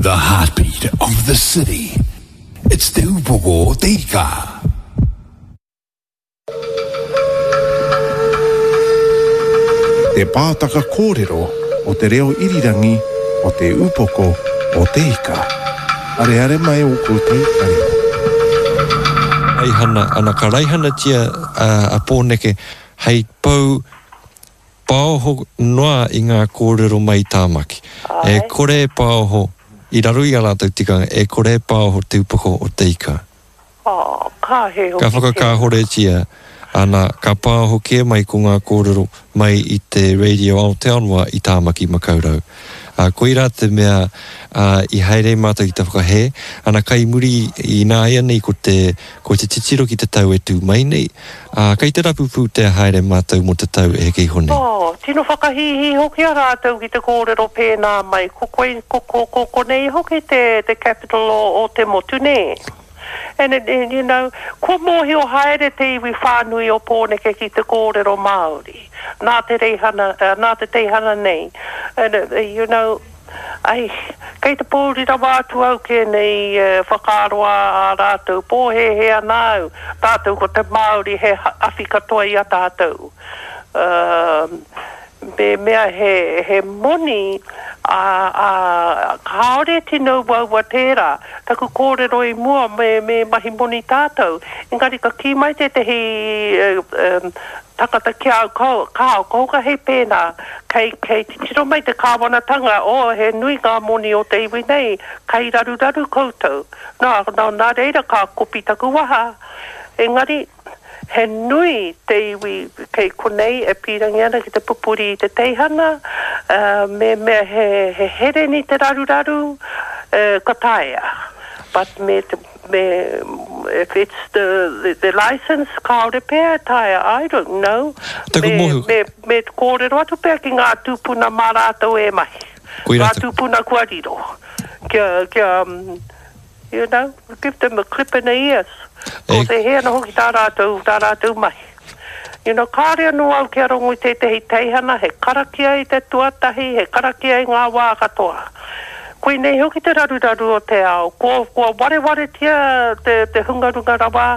The heartbeat of the city. It's Te Upoko o Te Ika. Te pātaka kōrero o te reo irirangi o Te Upoko o Te Ika. Areare mai ō koutou taringa. Raihana, ana ka raihanatia a Pōneke hei pou Paoho noa i ngā kōrero mai i Tāmaki. E kore e paoho, i raro i a rātou tikanga, e kore e paoho te upoko o te ika. Ka hē hoki Ka whakakāhoretia, ana, ka paoho kē mai ko ngā kōrero mai i te Radio Aotearoa i Tāmaki Makaurau. Ā, koirā te mea, ā, i haere ai mātou ki te whakahē, ana, kai muri ināianei ko te, ko te titiro ki te tau e tū mai nei, Ā, kei te rapu pūtea haere mātou mō te tau e heke iho nei. Oh, tino whakahīhī hoki a rātou ki te kōrero pēnā mai, ko koe, ko, ko, ko konei hoki te, te capital o, o te motu, nē? And it, and you know, kua mōhio haere te iwi whānui o Pōneke ki te kōrero Māori, nā te reihana, nā te teihana nei, and, you know, Ai, kei te pōuri rawa atu au ki ēnei whakaaro a ā rātou, pōhēhē ana au, tātou ko te Māori he awhi katoa i a tātou. Me mea he, he moni, ā, ā, kāore tino uaua tērā. Taku kōrero i mua me, me mahi moni tātou, engari ka kī mai tētehi Takata ki a au, kao, kao, ka hei pēnā, kei, kei titiro mai te kāwanatanga, oh, he nui ngā moni o te iwi nei, kei raruraru koutou. Nā, nā, nā reira ka kopi taku waha. Engari, he nui te iwi kei konei e pīrangi ana ki te pupuri i te teihana, ā, me mea he, he hereni te raruraru, ā, ka taea. But me te, Me, if it's the, the licence, kāore pea e taea, I don't know. Taku Me, mōhio. me, me kōrero atu pea ki ngā tūpuna mā rātou e mahi. Koirā Ngā taku. tūpuna kua riro. Kia, kia, you know, give them a clip in the ears. E. Ko te hē ana hoki tā rātou, tā rātou mahi. You know, kāore anō au kia rongo i tētehi teihana, he karakia i te tuatahi, he karakia i ngā wā katoa. Koinei hoki te raruraru o te ao, kua, kua warewaretia te, te hunga runga rawa,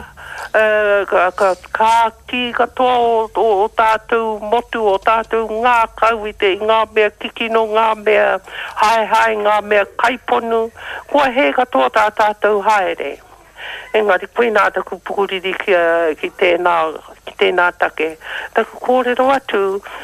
uh, ka, ka, ka kī katoa o, o, o tātou motu, o tātou ngākau i te, i ngā mea kikino, ngā mea haehae, ngā mea kaiponu, kua hē katoa tā tātou haere. Engari koinā taku pukuriri ki, ki tēnā, ki tēnā take. Taku kōrero atu.